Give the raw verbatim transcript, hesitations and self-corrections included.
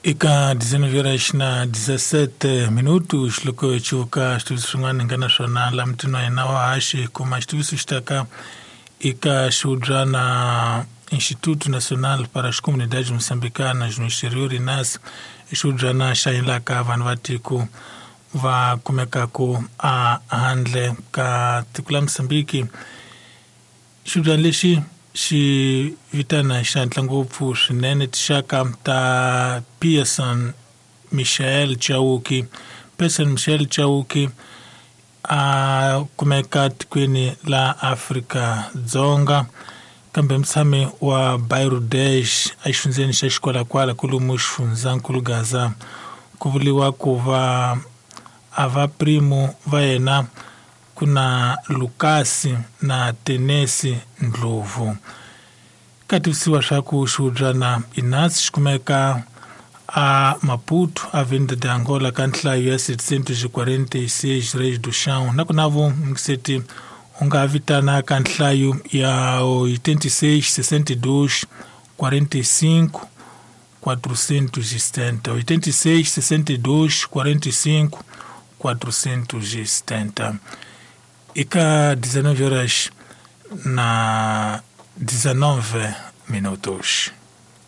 Eka dezenove horas na dezessete minutos loko hi cuka xitiviso xin'wana hi nga na swona la mutini wa hina wa haxi kuma xitiviso xi taka eka xihubyana Instituto Nacional para as Comunidades Moçambicanas no Exterior, INAS, i xihubyana xa endlaka vanhu va tiko va kumekaku a handle ka tiko la Mozambique. Xihubyana lexi xi vitana xihatla ngopfu swinene tinxaka ta Pearson Michael Chauke. Pearson Michael Chauke a kumeka tikweni la Afrika-Dzonga kambe mutshami wa Bairro dez exifundzheni xa Xikwalakwala kwalomu xifundzankulu Gaza. Ku vuriwa ku va a va primo va yena ku na Lucas na Tenesi Ndlovu. Ka tivisiwa swa ku xihubyana INAS xi kumeka a Maputo, Avenida de Angola, ka nhlayo ya setecentos e quarenta e seis Reis do Chão. Na ku na vo mukiseti u nga vitana ka nhlayo ya oitenta e seis, sessenta e dois, quarenta e cinco, quatrocentos e setenta. oitenta e seis, sessenta e dois, quarenta e cinco, quatrocentos e setenta. Eka dezenove horas na dezenove minutos.